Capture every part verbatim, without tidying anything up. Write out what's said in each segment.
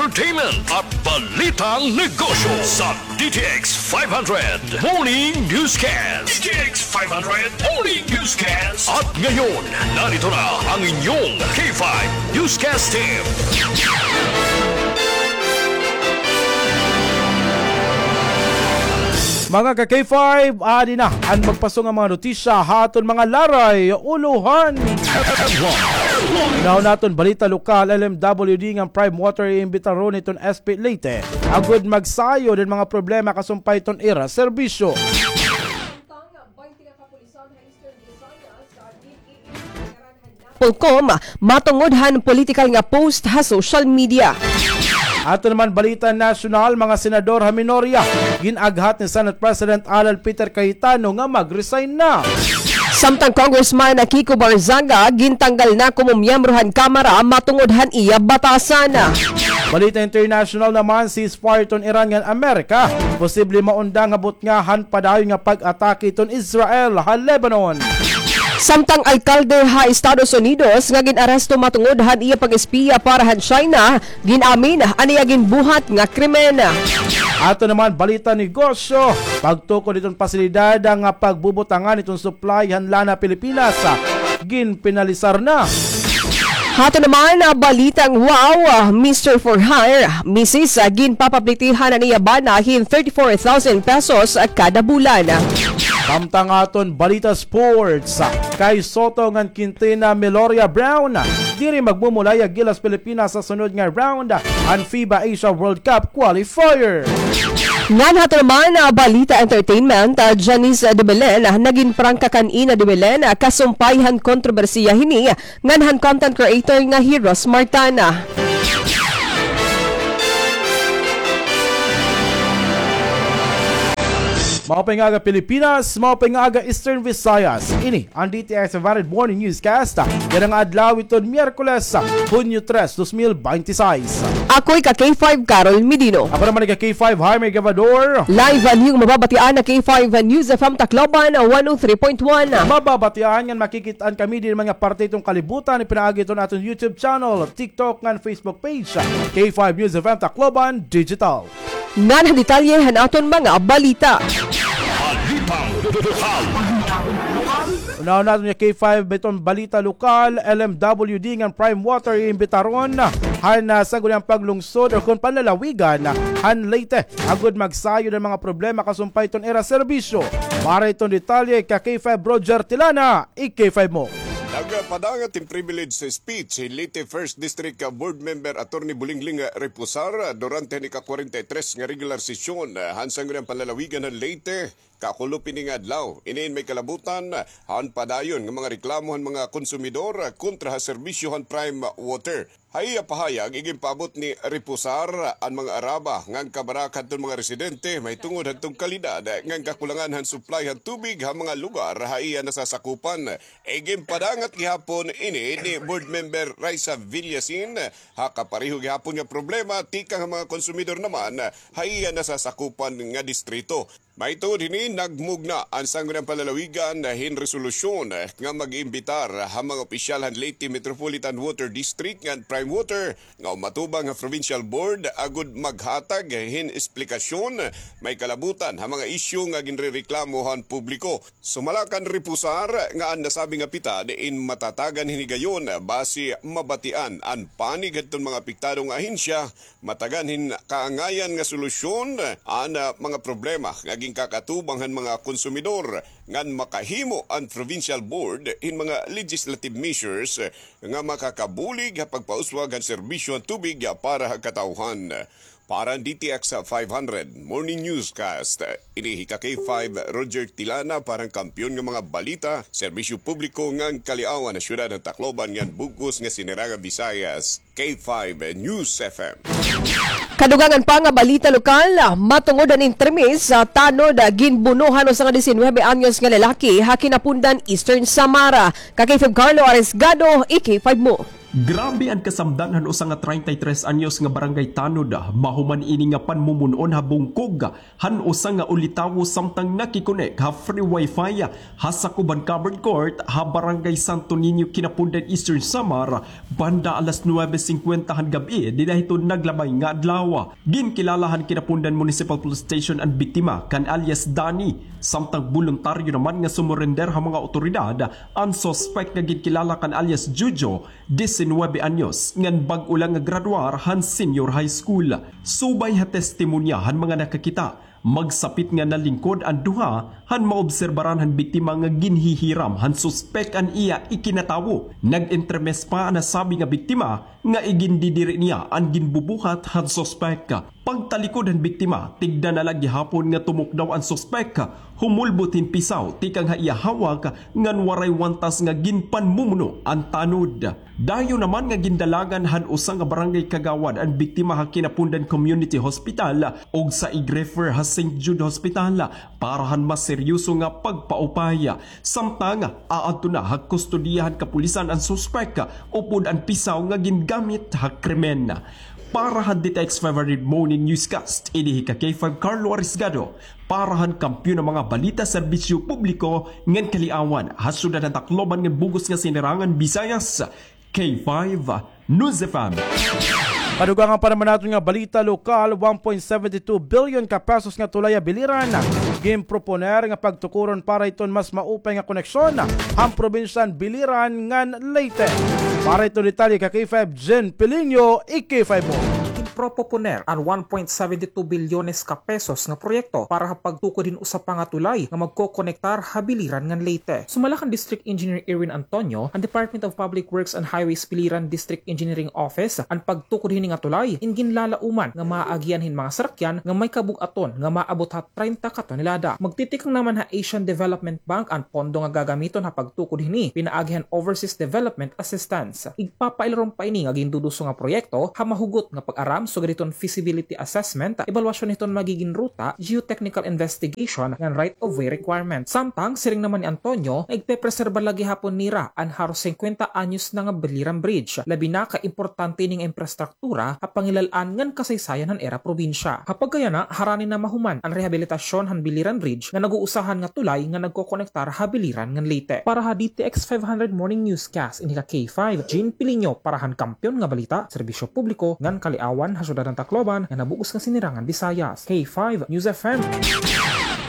Entertainment at balitang negosyo sa D T X five hundred Morning Newscast. D T X five hundred Morning Newscast. At ngayon, narito na ang inyong K five Newscast Team. Mga ka-K five, adi na an magpasong nga mga notisya ha aton mga laray, ulohan. Unahon naton balita lokal, L M W D ngan Prime Water iimbitaron iton S P Leyte agud magsayod hin mga problema kasumpay hiton ira serbisyo. Polcom, matungod han politikal nga post ha social media. Aton naman balita nasyonal, mga senador ha minorya, gin-aghat ni Senate President Alan Peter Cayetano nga mag-resign na. Samtang Congressman Kiko Barzaga, gintanggal na komo miyembro han Kamara matungod han iya batasan. Balita international naman, ceasefire hiton Iran ngan Amerika posible maundang ha butnga han padayon nga pag-atake hiton Israel ha Lebanon. Samtang alkalde ha Estados Unidos nga gin-aresto matungod han iya pag-espiya para han China, gin-amin an iya ginbuhat nga krimen. Aton naman balita negosyo, pagtukod hiton pasilidad nga pagbubutangan hiton supply han lana Pilipinas, ginpinalisar na. Ha aton naman, ah, balitang wow, ah, Mister For Hire, Missus, ah, ginpapaplitihan an iya bana hin thirty-four thousand pesos, ah, kada bulan. Samtang aton balita sports, ah, kay Soto ngan Quintina, Meloria Brown, ah, diri magmumulay ha Gilas Pilipinas ha sunod nga round, ah, han FIBA Asia World Cup qualifier. Ngan ha aton naman, ah, balita entertainment, ah, Janice, ah, de Belen, ah, nagin prangka kan Ina de Belen, ah, kasumpay han kontrobersiya hini ngan han content creator nga hi Ros Martana. Maupay nga aga Pilipinas, maupay nga aga Eastern Visayas. Ini an D T X five hundred Morning Newscast. Yana nga adlaw iton Miyerkules, Hunyo tres, dos mil bente seis. Ako hi ka K five Carol Medino. Ako naman hi ka K five Jaime Gavador. Live an iyo mababatian ha K five News F M Tacloban, one oh three point one. Mababatian ngan makikit-an kami diri man nga parte hiton kalibutan, pinaagi hiton aton YouTube channel, TikTok ngan Facebook page, K five News F M Tacloban Digital. Ngan ha detalye han aton mga balita. Balitang lokal. Unahon naton nga K five hiton balita lokal, L M W D ngan Prime Water iimbitaron han, ah, Sangguniang Panlungsod o kon panlalawigan han Leyte agud magsayod han mga problema kasumpay hiton ira serbisyo. Para hiton detalye, ka K five Roger Tilana, i-K five mo. Nagpadangat hin privilege speech hi Leyte First District Board Member Attorney Bulingling Reposar durante han ika-kwarenta y tres nga regular sesyon han Sangguniang Panlalawigan han Leyte, kakulop ini nga adlaw. Ini in may kalabutan han padayon nga mga reklamo han mga konsumidor kontra ha serbisyo han Prime Water. Ha iya pahayag, iginpaabot ni Reposar an mga araba ngan kabaraka hadton mga residente mahitungod hadton kalidad ngan kakulangan han supply han tubig ha mga lugar ha iya nasasakupan. Iginpadangat gihapon ini ni Board Member Raisa Villasin ha kapareho gihapon nga problema tikang ha mga konsumidor naman ha iya nasasakupan nga distrito. Mahitungod hini, nagmugna an Sangguniang Panlalawigan hin resolusyon nga mag-iimbitar ha mga opisyal han Leyte Metropolitan Water District ngan Prime Water nga umatubang ha Provincial Board agud maghatag hin esplikasyon may kalabutan ha mga isyu nga ginrereklamo han publiko. Sumala kan Reposar nga an nasabi nga pitad in matatagan hin higayon basi mabatian an panig hadton mga apektado nga ahensya matagan hin kaangayan nga solusyon an, ah, mga problema nga ginkakatubang han mga konsumidor, ngan makahimo an Provincial Board hin mga legislative measures nga makakabulig ha pagpauswag han serbisyo han tubig para ha katawhan. Para han D T X five hundred Morning Newscast, ini hi ka K five Roger Tilana para han Kampiyon nga mga Balita, Serbisyo Publiko ngan Kaliawan ha Syudad han Tacloban ngan bug-os nga Sinirangan Visayas. K five News F M. Kadugangan pa nga balita lokal, matungod han intermis, ah, tanod, ah, ginbuno han usa nga disinuybe anyos nga lalaki ha Kinapundan, Eastern Samar. Ka K five Carlo Arisgado, i-K five mo. Grabe an kasamdan han usa nga treinta y tres anyos nga barangay tanod, mahuman ini nga panmumon-on ha bungkog han usa nga ulitawo samtang nakikonek ha free wifi ha sakob han covered court ha Barangay Santo Niño, Quinapondan, Eastern Samar, banda alas nuwebe singkwenta han gab-i dida hiton naglabay nga adlaw. Ginkilala han Quinapondan Municipal Police Station an biktima kan alias Danny, samtang boluntaryo naman nga sumurender ha mga awtoridad an suspek nga ginkilala kan alias Jojo, disinwebe anyos, ngan bag-o la nga graduar han senior high school. Subay ha testimonya han mga nakakita, magsapit nga nalingkod an duha han maobserbaran han biktima nga ginhihiram han suspek an iya ikinatawo. Nag-entremes pa an nasabi nga biktima nga igindidiri niya an ginbubuhat han suspek. Pagtalikod han biktima, tigda na la gihapon nga tumukdaw an suspek, humulbot hin pisaw tikang ha iya hawak ngan waray wantas nga ginpanmumuno an tanod. Dayon naman nga gindalagan han usa nga barangay kagawad an biktima ha Quinapondan Community Hospital ug sa ig-refer ha Saint Jude Hospital para han mas seryoso nga pagpaupay. Samtang aadto na ha kustodiya han kapulisan an suspek upod an pisaw nga gingamit ha krimen. Para han D T X five hundred Morning Newscast, ini hi ka K five Carlo Arisgado, para han Kampiyon nga mga Balita, Serbisyo Publiko ngan Kaliawan, ha Syudad han Tacloban ngan bug-os nga Sinirangan Visayas, K five News F M. Kadugangan pa naman naton nga balita lokal, one point seven two billion ka pesos nga tulay ha Biliran ginproponer nga pagtukuron para hiton mas maupay nga koneksyon han probinsya han Biliran ngan Leyte. Para hiton detalye ka K five Jen Pilinio, i K five mo. Ginproponer an one point seven two bilyones ka pesos nga proyekto para ha pagtukod hin usa pa nga tulay nga magkokonektar ha Biliran ngan Leyte. Sumala kan District Engineer Irwin Antonio, an Department of Public Works and Highways Biliran District Engineering Office, an pagtukod hini nga tulay in ginlalauman nga maaagian hin mga sarakyan nga may kabug-aton nga maabot ha treinta ka tonelada. Magtitikang naman ha Asian Development Bank an pondo nga gagamiton ha pagtukod hini pinaagi han Overseas Development Assistance. Igpapailarom pa ini nga ginduduso nga proyekto ha mahugot nga pag-aram sugad hiton feasibility assessment, ebalwasyon hiton magigin ruta, geotechnical investigation, ngan right-of-way requirement. Samtang siring naman ni Antonio nga igpepreserba la gihapon nira an haros singkwenta anyos na nga Biliran Bridge, labi na ka importante ini nga imprastru- tura ha pangilal-an ngan kasaysayan han ira probinsya. Ha pagkayana, harani na mahuman an rehabilitasyon han Biliran Bridge nga nag-uusahan nga tulay nga nagkokonektar ha Biliran ngan Leyte. Para ha D T X five hundred Morning Newscast, ini ka K five, Jean Pilinio, para han Kampiyon nga Balita, Serbisyo Publiko ngan Kaliawan, ha Syudad han Tacloban ngan ha bug-os nga Sinirangan Visayas. K five News F M.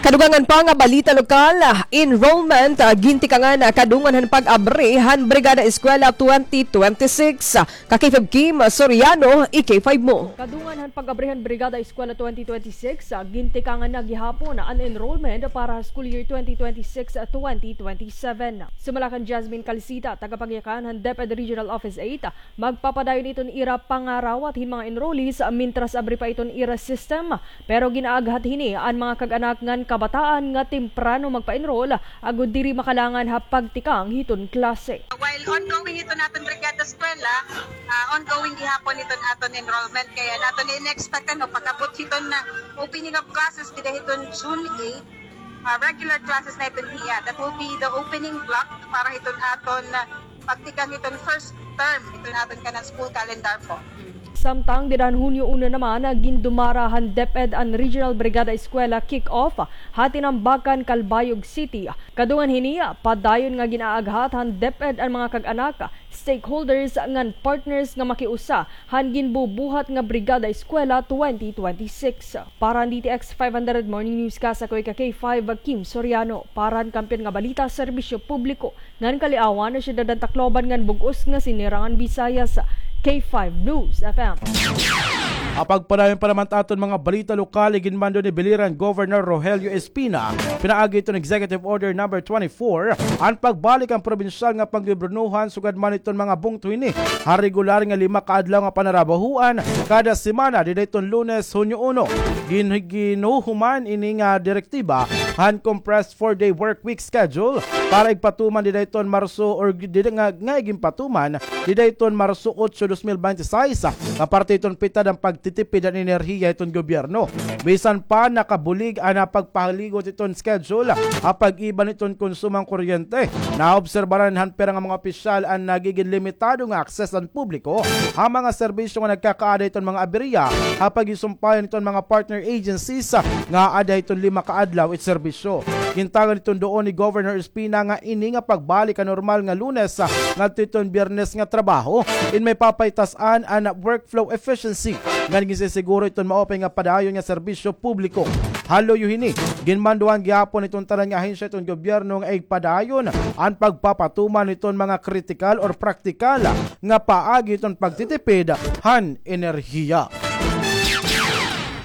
Kadugangan pa nga balita lokal, enrollment, ah, gintikangan, ah, kadungan han pag-abri han Brigada Eskwela twenty twenty-six. Ka K five Kim Soriano, i K five mo. Kadungan han pag-abri han Brigada Eskwela twenty twenty-six, ah, gintikangan na gihapon an enrollment para ha school year twenty twenty-six, ah, twenty twenty-seven. Sumala kan Jasmine Calcita, tagapangyakan han DepEd Regional Office eight, ah, magpapadayon iton ira pangarawat hin mga enrollees, ah, mintras abri pa iton ira system. Pero gin-aaghat hini an mga kag-anak ngan kabataan nga temprano magpa-enroll agod diri makalangan ha pagtikang hiton klase. While ongoing iton aton Brigada Eskwela, ah, ongoing gihapon iton aton enrollment, kay an aton in-expect, ano, pag-abot hiton, ah, opening of classes dida hiton June eight, ah, regular classes na iton hiya. That will be the opening block para hiton aton, ah, pagtikang hiton first term hiton aton kanan school calendar po. Samtang dida han Hunyo uno naman, gindumara han DepEd an Regional Brigada Eskwela kick-off ha Tinambacan, Calbayog City. Kadungan hini, padayon nga gin-aaghat han DepEd an mga kag-anak, stakeholders ngan partners nga makiusa han ginbubuhat nga Brigada Eskwela twenty twenty-six. Para han D T X five hundred Morning Newscast, ako hi ka K five Kim Soriano. Para han Kampiyon nga Balita, Serbisyo Publiko ngan Kaliawan, Syudad han Tacloban ngan bug-os nga Sinirangan Visayas, K five News F M. Ha pagpadayon pa naman ta aton mga balita lokal, iginmando ni Biliran Governor Rogelio Espina pinaagi hiton Executive Order number twenty-four an pagbalik han probinsyal nga panggobiernohan sugad man hiton mga bungto hini ha regular nga lima ka adlaw nga panarabahoan kada semana dida hiton Lunes, Hunyo uno. Gin-, ginhuhuman ini nga direktiba han compressed four-day work week schedule para igpatuman dida iton Marso or dida nga, nga iginpatuman dida iton Marso otso, dos mil bente seis, nga parte iton pitad han pagtitipid han enerhiya iton gobyerno. Bisan pa nakabulig an pagpahaligot iton schedule ha pag-iba niton konsumo han kuryente, naobserbaran han pira nga mga opisyal an nagigin limitado nga access han publiko ha mga serbisyo nga nagkakaada iton mga aberya ha pagisumpayan iton mga partner agencies nga aada iton lima ka adlaw it serbisyo. Gintagan iton duon ni Governor Espina nga ini nga pagbalik ha normal nga Lunes ngadto iton Biyernes nga trabaho in may papaitas-an an workflow efficiency ngan ginsisiguro iton maupay nga padayon nga serbisyo publiko. Ha luyo hini, ginmanduhan gihapon iton tanan nga ahensya iton gobyerno nga igpadayon an pagpapatuman iton mga kritikal or praktikal nga paagi iton pagtitipid han enerhiya.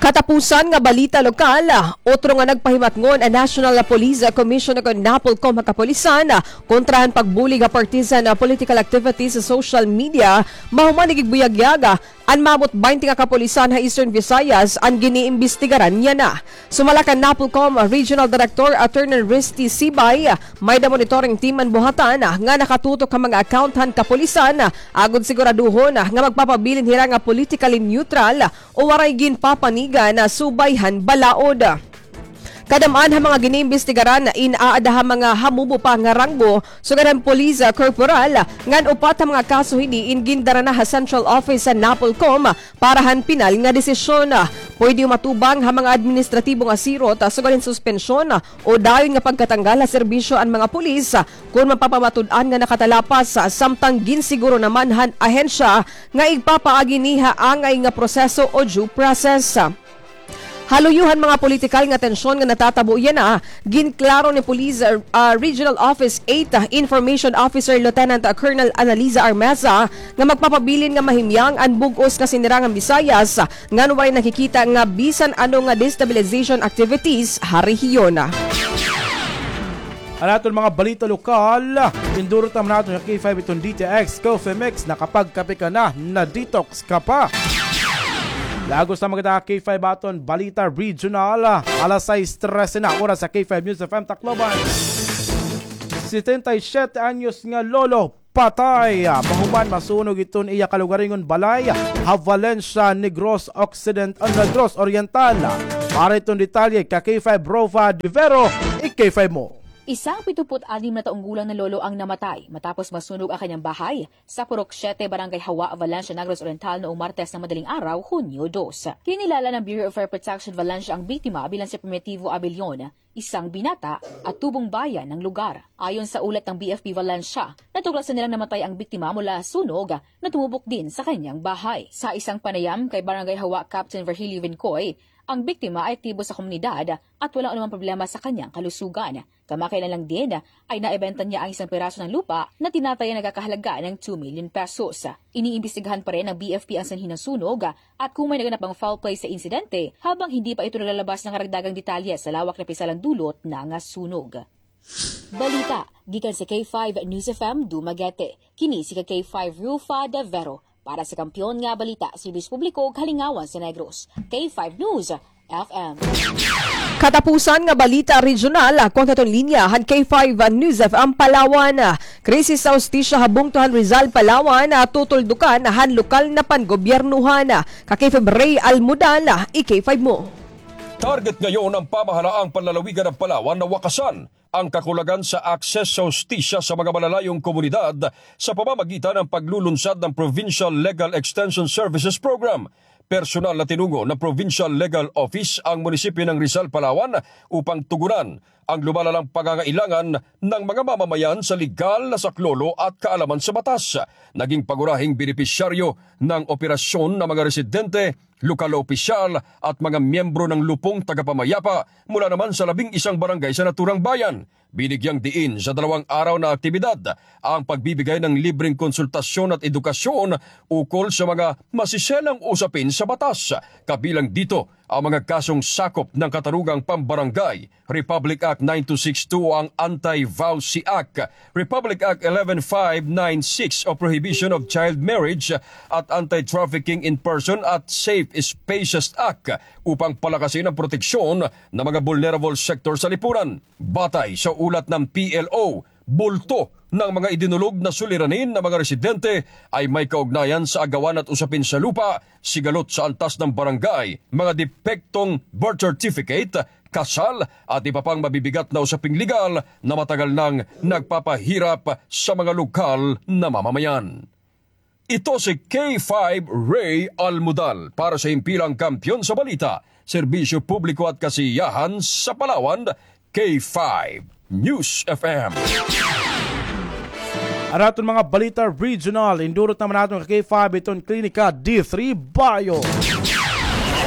Katapusan nga balita lokal, otro nga nagpahimatngon an National Police Commission o kon NAPOLCOM ha kapulisan kontra han pagbulig ha partisan political activities sa social media, mahuman nagigbuyagyag an maabot baynte nga kapulisan ha Eastern Visayas an giniimbestigaran yana. Sumala kan NAPOLCOM Regional Director Attorney Risty Sibay, may-ada monitoring team an buhatan nga nakatutok ha mga account han kapulisan agod siguraduhon nga magpapabilin hira nga politically neutral o waray ginpapanigan subay han balaod. Kadam-an ha mga giniimbestigaran in aada ha mga hamubo pa nga ranggo sugad han police corporal, ngan upat ha mga kaso hini in gindara na ha central office han NAPOLCOM para han pinal nga desisyon. Pwede umatubang ha mga administratibo nga sirot sugad hin suspensyon o dayon nga pagkatanggal ha serbisyo an mga pulis kon mapapamatud-an nga nakatalapas, samtang ginsiguro naman han ahensya nga igpapaagi ini ha angay nga proseso o due process. Ha luyo han mga politikal nga tensyon nga natatabo yana, ginklaro ni Police, ah, Regional Office eight, ah, Information Officer Lieutenant Colonel Annaliza Armeza nga magpapabilin nga mahimyang an bug-os nga sinirangan Visayas, ngan waray nakikita nga bisan ano nga destabilization activities ha rehiyon. An aton mga balita lokal, indurot naman naton sa K five iton D T X Coffee Mix. Nakapagkape ka na, na-detox ka pa. Lagos na maganda K five aton balita regional. Alas sais trese na oras sa K five News F M Tacloban. Setenta y siete anyos nga lolo patay mahuman masunog iton iya kalugaringon balay ha Valencia, Negros Occident-, ah, Negros Oriental. Para iton detalye ka K five Rofa de Vero, i-K five mo. Isang pitumput anim na taong gulang na lolo ang namatay matapos masunog ang kanyang bahay sa Purok Siete, Barangay Hawa, Valencia, Negros Oriental noong Martes ng madaling araw, Hunyo dos. Kinilala ng Bureau of Fire Protection Valencia ang biktima bilang si Primitivo Abelion, isang binata at tubong bayan ng lugar. Ayon sa ulat ng B F P Valencia, natuklasan nilang namatay ang biktima mula sa sunog na tumubok din sa kanyang bahay. Sa isang panayam kay Barangay Hawa Captain Virgilio Vincoy, ang biktima ay aktibo sa komunidad at walang anumang problema sa kanyang kalusugan. Kamakailan lang din ay naibenta niya ang isang piraso ng lupa na tinatayang nagkakahalaga ng two million pesos. Iniimbestigahan pa rin ng B F P ang sanhi ng sunog at kung may naganap bang foul play sa insidente, habang hindi pa ito naglalabas ng karagdagang detalye sa lawak na pisalang dulot ng sunog. Balita gikan sa K five News F M Dumaguete. Kini si K five Rufa de Vero. Para sa Kampiyon nga Balita, Serbisyo Publiko, Kalingawan sa Negros, K five News F M. Katapusan nga balita regional, kontra iton linya han K five News F M Palawan. Krisis sa hustisya ha bungto han Rizal, Palawan, tutuldukan han lokal na pangobyernohan. Ka K five Ray Almudal, i-K five mo. Target ngayon ng pamahalaang panlalawigan ng Palawan na wakasan ang kakulangan sa access sa hustisya sa mga malalayong komunidad sa pamamagitan ng paglulunsad ng Provincial Legal Extension Services Program. Personal na tinungo ng Provincial Legal Office ang munisipyo ng Rizal, Palawan upang tugunan ang lumalalang pangangailangan ng mga mamamayan sa legal na saklolo at kaalaman sa batas. Naging pangunahing benepisyaryo ng operasyon ng mga residente, lokal na opisyal at mga miyembro ng Lupong Tagapamayapa mula naman sa labing isang barangay sa naturang bayan. Binigyang diin sa dalawang araw na aktibidad ang pagbibigay ng libreng konsultasyon at edukasyon ukol sa mga masiselang usapin sa batas, kabilang dito Ang mga kasong sakop ng katarugang pambarangay, Republic Act nine two six two, ang Anti-V A W C Act, Republic Act eleven five nine six o Prohibition of Child Marriage at Anti-Trafficking in Person at Safe Spaces Act upang palakasin ang proteksyon ng mga vulnerable sector sa lipunan. Batay sa ulat ng P L O, bulto ng mga idinulog na suliranin ng mga residente ay may kaugnayan sa agawan at usapin sa lupa, sigalot sa antas ng barangay, mga depektong birth certificate, kasal at iba pang mabibigat na usaping legal na matagal nang nagpapahirap sa mga lokal na mamamayan. Ito si K five Ray Almudal para sa Himpilang Kampiyon sa Balita, Serbisyo Publiko at Kasiyahan sa Palawan, K five News F M. An aton mga balita regional, indurot naman naton ka K five iton Klinika D three Bayo.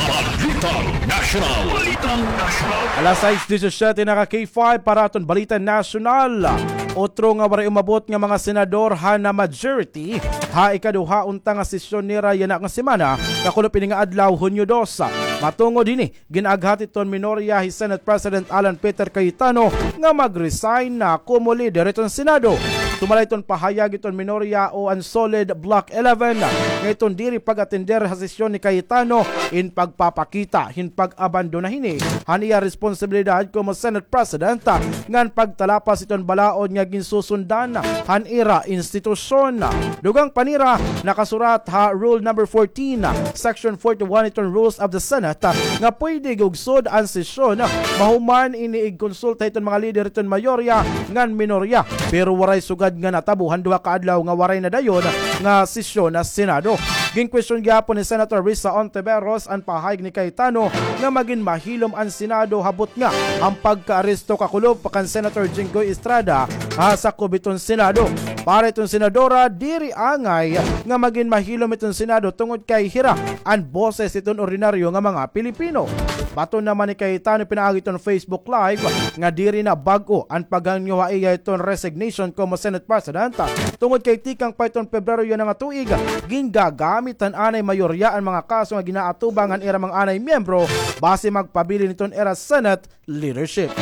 Balitang Nasyonal. Balitang Nasyonal. Alas sais disisiete na ka K five para aton Balita Nasyonal. Otro nga waray umabot nga mga senador han na majority ha ikaduha unta nga sesyon nira yana nga semana, kakulop ini nga adlaw, Hunyo dos. Matungod hini, gin-aghat hiton minorya hi Senate President Alan Peter Cayetano nga mag-resign na komo leader hiton Senado. Sumala hiton pahayag hiton minorya o an Solid Bloc eleven nga iton diri pag-atender ha sesyon ni Cayetano in pagpapakita hin pag-abandona hini han iya responsibilidad komo Senate President ngan pagtalapas hiton balaod nga ginsusundan han ira institusyon. Dugang pa nira, nakasurat ha Rule number fourteen, Section forty-one hiton Rules of the Senate nga pwede gugsod an sesyon mahuman ini igkonsulta hiton mga lider hiton mayorya ngan minorya, pero waray sugad nga natabo han duha ka adlaw nga waray na dayon nga sesyon na Senado. Ginkwestiyon gihapon ni Senator Risa Ontiveros an pahayag ni Cayetano nga magin mahilom an Senado ha butnga han pagkaaresto kakulop kan Senator Jinggoy Estrada ha sakob hiton Senado. Para hiton senadora, diri angay nga magin mahilom hiton Senado tungod kay hira an boses hiton ordinaryo nga mga Pilipino. Baton naman ni Cayetano pinaagi hiton Facebook Live nga diri na bag-o an paghangyo ha iya hiton resignation komo Senate President, tungod kay tikang pa hiton Pebrero yana nga tuig, gingagamit han anay mayorya an mga kaso nga ginaatubang han ira mga anay miyembro basi magpabilin hiton ira Senate leadership.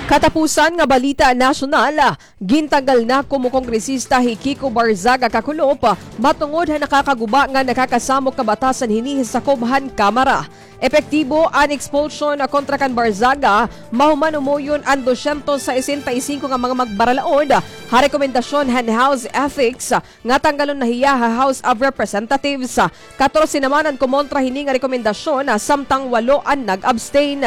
Katapusan nga balita nasyonal, gintanggal na komo kongresista hi Kiko Barzaga kakulop matungod ha nakakaguba nga nakakasamok nga batasan hini hi sakob han Kamara. Epektibo an expulsion kontra kan Barzaga, mahuman umuyon an dosyentos sesenta y singko nga mga magbaralaod ha rekomendasyon han House Ethics nga tanggalon na hiya ha House of Representatives. Katorse naman an kumontra hini nga rekomendasyon, samtang walo an nag-abstain.